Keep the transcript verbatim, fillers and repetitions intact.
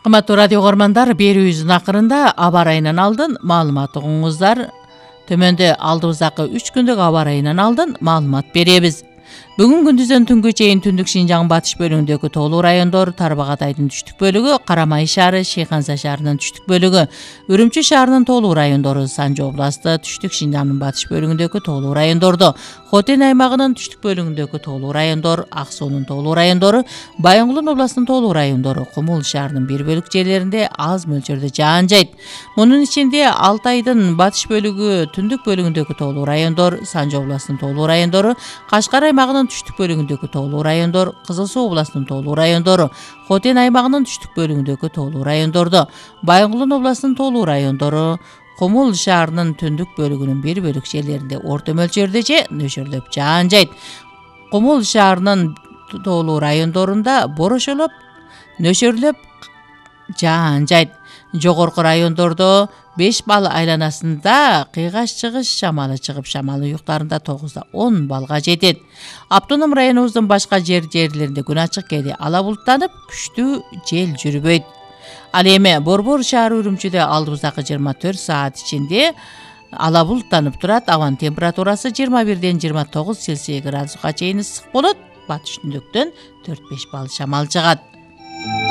Кымбаттуу радио көрмандар, берүүбүздүн акырында аба ырайынан алдын маалымат угуңуздар. Төмөндө алдыбыздагы үч күндүк аба ырайынан алдын маалымат беребиз. Бүгүн күндүздөн түнгө чейин Түндүк Шинжаң батыш бөлүгүндөгү тоолуу райондор, Тарбагатайдын түштүк бөлүгү, Карамай шаары, Шейханза шаарынын түштүк бөлүгү, Үрүмчү шаарынын тоолуу райондору, Санжы областы, Түштүк Шинжаңдын батыш бөлүгүндөгү тоолуу райондордо, Хотен аймагынын түштүк бөлүгүндөгү тоолуу райондор, Ак суунун тоолуу райондору, Байынгулун областынын тоолуу райондору, Кумул шаарынын бир бөлүк жерлеринде аз мөлчөрдө жаан жайт. Мунун ичинде Алтайдын батыш бөлүгү, Түндүк бөлүгүндөгү тоолуу райондор, Санжы областынын тоолуу райондору, Кашкар аймагынын түштүк бөлүгүндөгү тоолуу райондор, Кызыл Суу областынын тоолуу райондору, Хотен аймагынын түштүк бөлүгүндөгү тоолуу райондордо, Байынгулун областынын тоолуу райондору, Кумул шаарынын түндүк бөлүгүнүн бир бөлүк жерлеринде орто мөлчөрдө же нөшөрлөп жаан жайт. Кумул шаарынын тоолуу райондорунда борошолоп, нөшөрлөп жаан жайт. Жогорку райондордо беш балл айланасында кыйгаш-чыгыш шамалы чыгып, шамал уюктарында тогузда он баллга жетет. Автоном районубуздун башка жер жерлеринде күн ачык, кээде ала булуттанып, күчтүү жел жүрбөйт. Ал эми Борбор шаары Үрүмчүдө алдыбыздагы жыйырма төрт саат ичинде ала булуттанып турат. Абанын температурасы жыйырма бирден жыйырма тогуз Цельсий градуска чейин ысык болот. Батыш түндүктөн төрт беш балл шамал жагат.